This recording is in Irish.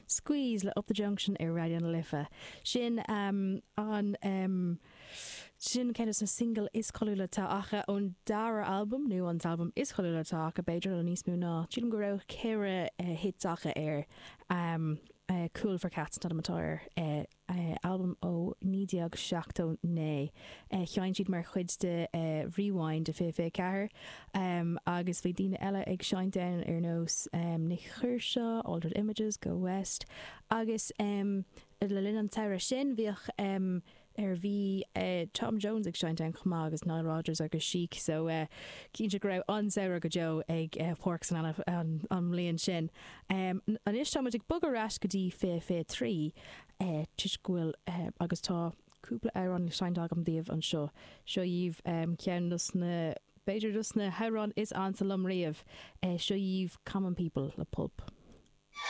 Squeeze le Up The Junction ar Raidió na Life. Sin an sin ceann de na singil is cáiliúla atá acu ón dara albam, nó an t-albam is cáiliúla atá acu b'fhéidir, nó níos mó ná, sílim go raibh 4 hits acu air. Cool for Cats an t-ainm atá air. albam ó 1979. Sheinn siad mar chuid de Rewind i 2024 agus bhí daoine eile ag seinnt ann ar nós Nik Kershaw, Altered Images, Go West agus le linn an tsamhraidh sin bhíodh ar bhí Tom Jones ag seinnt ann chomh maith agus Nile Rodgers agus Chic so cinnte go raibh an-samhradh go deo ag Páirc San Anna an mbliain sin. Anois tá muid ag bogadh ar ais go dtí 2023 toisc go bhfuil agus tá cúpla amhrán le seinnt agam daoibh anseo. Seo dhaoibh ceann dos na, b'fhéidir dos na hamhráin is ansa liom riamh. Seo dhaoibh Common People le Pulp.